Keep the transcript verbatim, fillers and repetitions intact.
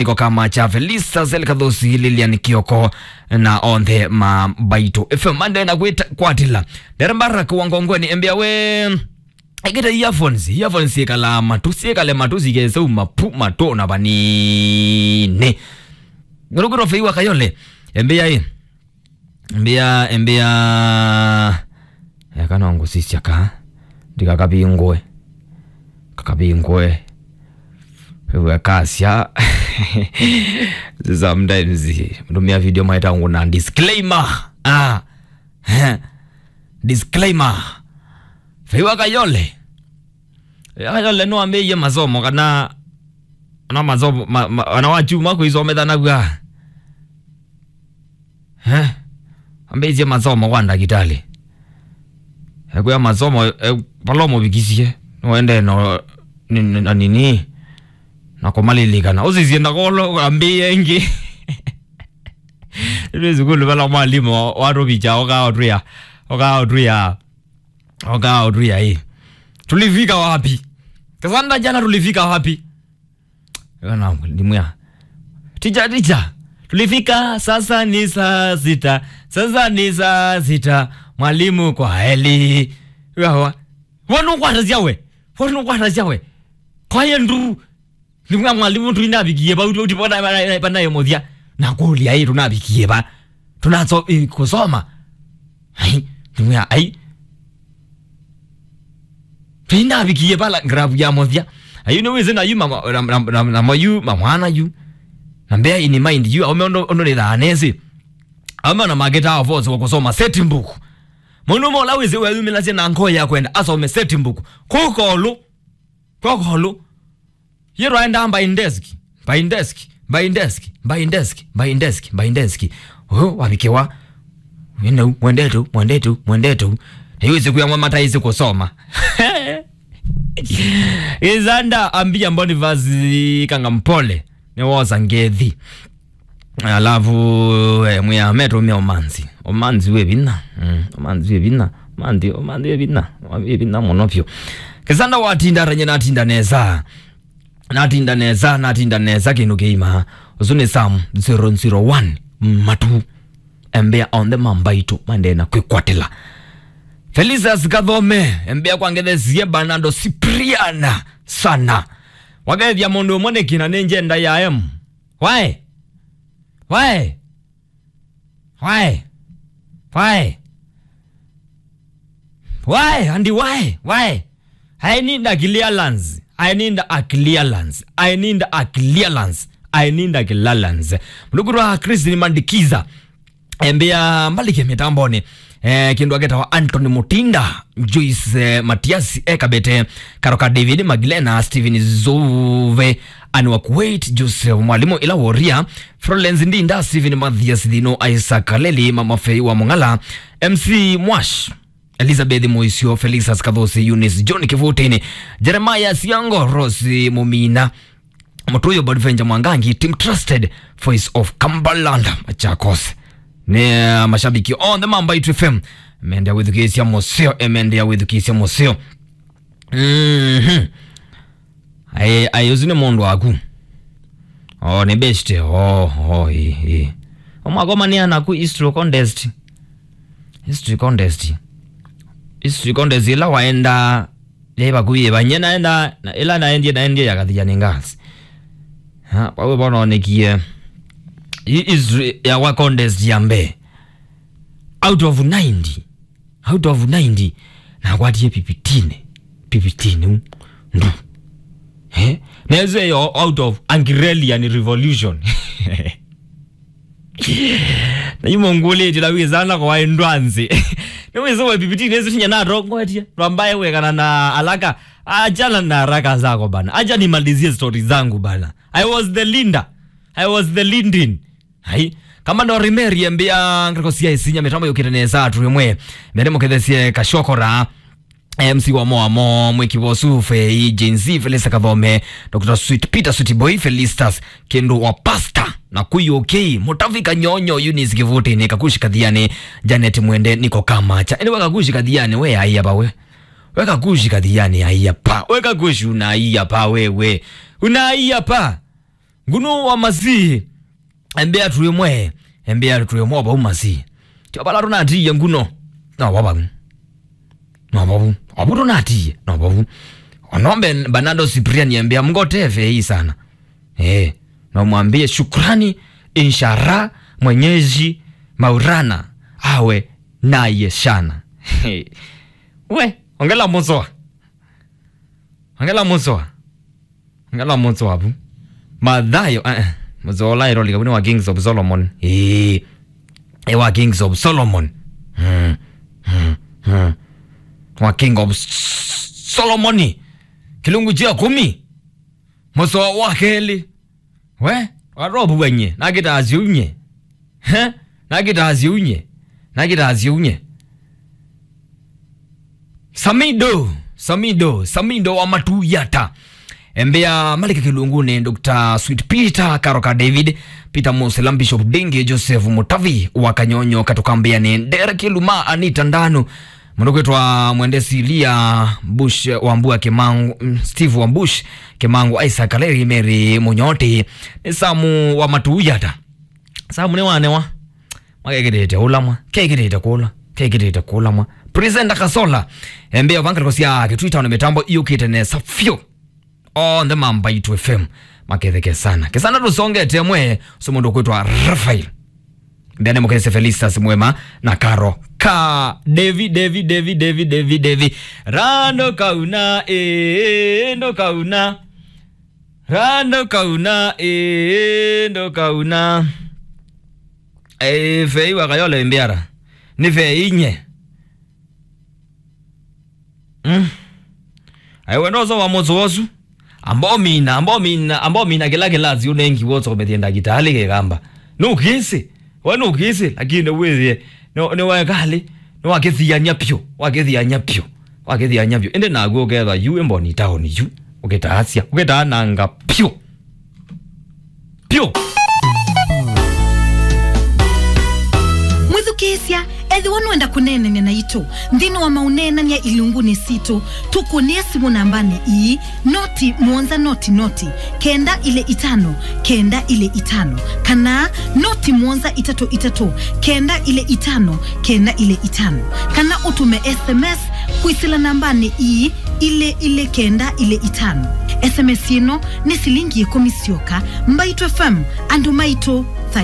Niko kama cha Felista, Zel Kathosi, Lilian Kioko, na onthe ma Mbaitũ F M. Mande na kwita kwatila. Dere Mbarak wa Ngongweni, embea we. Ekite earphones, earphones ikala matu, sikale matu, sikese mapu, matu na vanini. Ngurukuro Feiwa Kayole, embea e. Mbia, mbia. Eka no ngũsisya ka. Ndikakavingũe. Kakavingũe. Wĩw'a kasya. Sometimes, mtumia video maita ngũ na disclaimer. Ah. Disclaimer. Feiwa Kayole. Feiwa Kayole nĩwambĩĩie masomo kana, kana masomo, ma, ma, kana wachuma kũisomethanakw'a. Eh? Ambĩĩsye masomo kwa ndakĩtalĩ. Ekwĩa masomo, eh, vala ũmũvikisye, nĩwendee no, ni, ni, na nini, na kũmalilikana. Ũsisye ndakolo, ambĩĩe ĩngĩ. Nĩ sukulu vala mwalimũ watũvikya, ũkaa ũtwĩa, ũkaa ũtwĩa, ũkaa ũtwĩa, ĩ. Tulifika wapi? Kasanda jana tulifika wapi? Ĩyo na ndimwĩa, "Ticha, ticha, tulifika, sasa ni saa sita, sasa ni saa sita, mwalimu kwa heli." Wawa, wanũkwatasya we, wanũkwatasya we. Kwaye nduru, ndimwĩa mwalimu, tũinavikie vau, tũtipona panaye mũthya. Na kũlya, "Ĩ, tũnavikie va? Tũnaso, ĩ, kũsoma?" Ai, ndimwĩa, ai. Tũinavikie vala ngravu ya mũthya. Ayu nĩwĩsĩ na yu ma, na, na, na, na mayu, mamwana yu. Na bear in mind yu, aume ũndũ, ũndũ nĩthaa nĩsĩ. Aume ona makĩtaa force wa kũsoma set book. Mũndũ ũmwe ũla wĩsĩ weyumĩlasya na ngoo ya kwenda asome set book. Kũkolu. Kũkolu. Yĩrwaenda by desk, by desk, by desk, by desk, by desk, by desk. Ũyũ wavikiwa. Wĩnau, mwendetu, mwendetu, mwendetu. Na yu ĩsiku yamwe mataĩsĩ kũsoma. Izanda ambia Boniface Kangampole. Nĩ wosa ngethi. Alafu, eh, mwĩa metumia ũmanzi. Ũmanzi wĩ vinya. Mm, ũmanzi wĩ vinya. Ũmanzi, ũmanzi wĩ vinya. Wĩ vinya mũno vyũ. Kĩsanda watinda aranye natinda nesa. Natinda nesa, natinda nesa kĩndũ kĩima. Ũsu nĩ Sam zero zero one. Matu. Embea onthe ma Mbaitũ, mandee na kwĩkwatĩla. Felicitas Kathome, embea kwa ngethesie Bernardo Cipriana sana. Wakethia mũndũ ũmwe nĩkĩ na nĩ njenda ya M. Why? Why? Why? Why? Why? And why? Why? I need a clearance. I need a clearance. I need a clearance. I need a clearance. Mlukuru wa Chris ni mandikiza. Embea mbalike mitamboni. Eh, kindu aketawa Anthony Mutinda, Joyce, eh, Matias, Ekabete, Karoka David, Magdalena, Steven Zove, Anne wa Kuwait, Joseph Mwalimu, Ila Woria, Florence Ndinda, Steven Mathias Thino, Isaac Kaleli, Mama Fei wa Mung'ala, M C Mwash, Elizabeth Moisio, Felicitas Kathosi, Eunice John Kivutini, Jeremiah Siango, Rose Mumina, Mũtũyũ Bonaventure Mwangangi, Team Trusted, Voice of Cumberland, Machakos. Nĩ, uh, mashabiki onthe ma Mbaitũ F M, mendea wĩthukĩĩsya mũseo, eh, mendea wĩthukĩĩsya mũseo. Mhm. Ai, ai, ũsu nĩ mũndũ waku. Oh, nĩ best. Oh, oh, ĩ, ĩ. Omwakomania naku history contest. History contest. History contest ĩla waenda, yĩ vakuvĩ vanye naenda, na ĩla naendie, naendie ya Kathiani Girls. Ha, vau vononekie. Hii history ya wa contest ya mbee. Out of ninety. Out of ninety, nakwatie fifteen. Fifteen u. Ndu. Eh? Nezo yo out of Agrarian Revolution. Na imo ngulĩtĩ la wĩ sana kwa endwanzi. Nĩ wĩsĩ wa fifteen, nĩsĩ tinya natongoetie. Twambaye wekana na haraka. Achana na haraka zako bana. Acha nimalizie story zangu bana. I was the leader. I was the leading. Hai. Kama ndo Rimeri embia ngariko cia isinya mitambo yukite nesa atu imwe. Mere mukethesie Kashokora. M C wa Moamo, Mwiki Vosu, Fei, Gen Z, Felista Kathome, Doctor Sweet, Peter Sweet Boy, Felistas, Kendo wa Pastor, na Kuyu K, Mutavika Nyonyo, Eunice Kivutini, Kakushi Kathiani, Janet Mwende, Niko Kamacha. Anyway, Kakushi Kathiani, we aia pa we. We Kakushi Kathiani, aia pa. We Kakushi unaia pa wewe. Unaia pa. Nguno wa Masii. Embea twĩ mwe. Embea twĩ mwe vau Masii. Tio vala tũnatiie nguno. No vau. No vau. Ovu tũnatiie. No vau. Onombe Bernardo Cyprian embea mgote fei sana. Eh, na umwambie shukrani, inshallah, Mwenyezi Maulana awe naye sana. We, ongela mũsoa. Ongela mũsoa. Ongela mũsoa avu. Mathayo, eh, eh, mũsoa ũla ĩrolika, ni wa Kings of Solomon. Eh, eh, wa Kings of Solomon. Hmm, hmm, hmm. Wa King of S-, Solomon. Kĩlungu kya kũmi. Mũsoa wa kelĩ. We, warovu wenye, nakĩtaasya unye. He? Nakĩtaasya unye. Nakĩtaasya unye. Samido, Samido, Samido wa Matuyata. Embea malike kĩlungunĩ, Doctor Sweet Peter, Karoka David, Peter Musila, Bishop Dingi, Joseph Mutavi wa Kanyonyo, Katukambĩanĩ, Ndera Kiluma, Anita Ndanu, mũndũ kwĩtwa Mwende Silia Bush, Wambua Kimangu, mm, Steve wa Bush, Kimangu, Isaac Kaleri, Mary Munyoti, nĩ Samu wa Matuyata. Samu nĩ wanewa. Makekĩtĩte ũlamwa, kekĩtĩte kũla, kekĩtĩte kũlamwa. Presenter Kasola, embea vangalĩko sya Kĩtwita na mĩtambo iyũkĩte nesa vyũ. Onthe ma Mbaitu F M maketheke sana. Kesana tũsongete mwe, so mũndũ kwĩtwa Rafael. Mbene mũkese Felistas Mwema na Karo. Ka Devi, Devi, Devi, Devi, Devi, Devi. Rando kauna, eh, ndo kauna. Rando kauna, eh, ndo kauna. Eh, fei wa Kayole mbiara. Ni fei inye. Mm. Aiwe ndozo wa mũsoa ũsu. Ambao mina, ambao mina, ambao mina kĩla kĩlasi ũnengi woso kũmethia ndagĩtalĩ kĩkamba. Nũkĩsĩ. We nũkĩsĩ, lakini wĩthĩe. Nĩ, nĩ wekali. Nĩ wakĩthiany'a pyũ. Wakĩthiany'a pyũ. Wakĩthiany'a pyũ. Ĩndĩ naguo ũkethwa yu ĩmboni taoni yu. Ũkĩtaasya. Ũkĩtaananga pyũ. Pyũ. Mwĩthukĩĩsya, ethĩwa nũenda kũneenany'a naitũ nthĩnĩ wa maũneenany'a ilungunĩ sitũ, tũkũnĩe simũ nambanĩ ii, noti mũonza noti noti, kenda ilĩ itano, kenda ilĩ itano, kana noti mũonza itatũ itatũ, kenda ilĩ itano, kenda ilĩ itano, kana ũtũme S M S kwĩsĩla nambanĩ ii, ilĩ ilĩ kenda ilĩ itano. S M S ĩno nĩ silingi ĩkũmi syoka. Mbaitũ F M, andũ maitũ.